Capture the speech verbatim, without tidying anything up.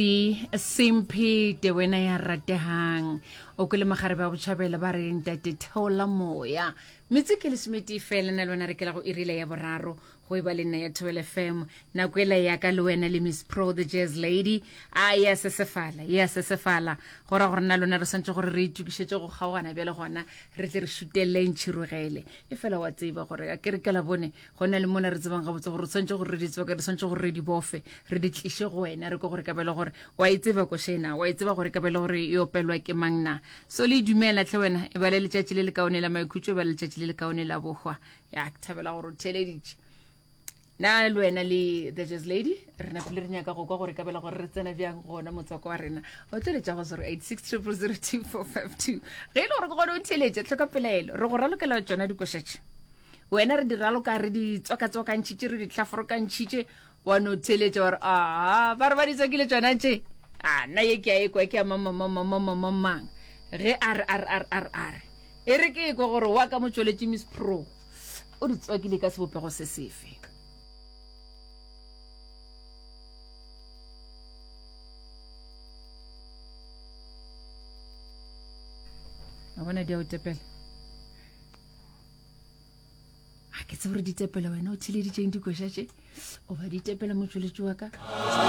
Simphi wena ya rategang o kwele magarebe a botšhabela ba re ntate theola moya metse ke lesometee fela na le wena re kela go irile ya boraro go e ba le nna ya thobel fm nako ela ya ka le wena le miss pro the jazz lady a ya sesefala ya sesefala go ra gore na lona re swantse gore re itokišetše go kgaogana bjale gona re tle re šutelele ntšhirogele e fela wa tseba gore a ke re ka labone go na le mona re tsebang gabotse gore re tshwanetse gore re di tswake re tshwanetse gore re di bofe re di tliše go wena re ko gore ka bele gore wa e tseba košena wa e tseba gore ka bele gore e opelwa ke mang na so le dumela tlhe wena e ba le letšatši le lekaone la maikhutšo e ba le letšatši le lekaone la bohwa ya ke thabela gore o theleditše na le wena le the jazz lady re napile re nyaka go kwa gore ka bela gore re tsena bjang gona motswako wa rena o tlo go zero eight six triple zero two four five two ge e le gore ke gone o theletše tlhoka pelaelo re go ralokela tsona dikošetše wena re di raloka re di tswakatswakantšhitše re di tlhaforokantšhitše wa no theletša wa re aa ba re ba di tswakile tsona tše a nna ye ke a ekwa ke ya mamamamamamamamang ge a re a re a re a re a re e re ke ekwa gore wa ka motšweletši miss pro o di tswakile ka sebopego se sefe a bona di a o tepela a ke tsebe gore di tepela wena o theleditšeng dikoša tše o ba di tepela motšweletši wa ka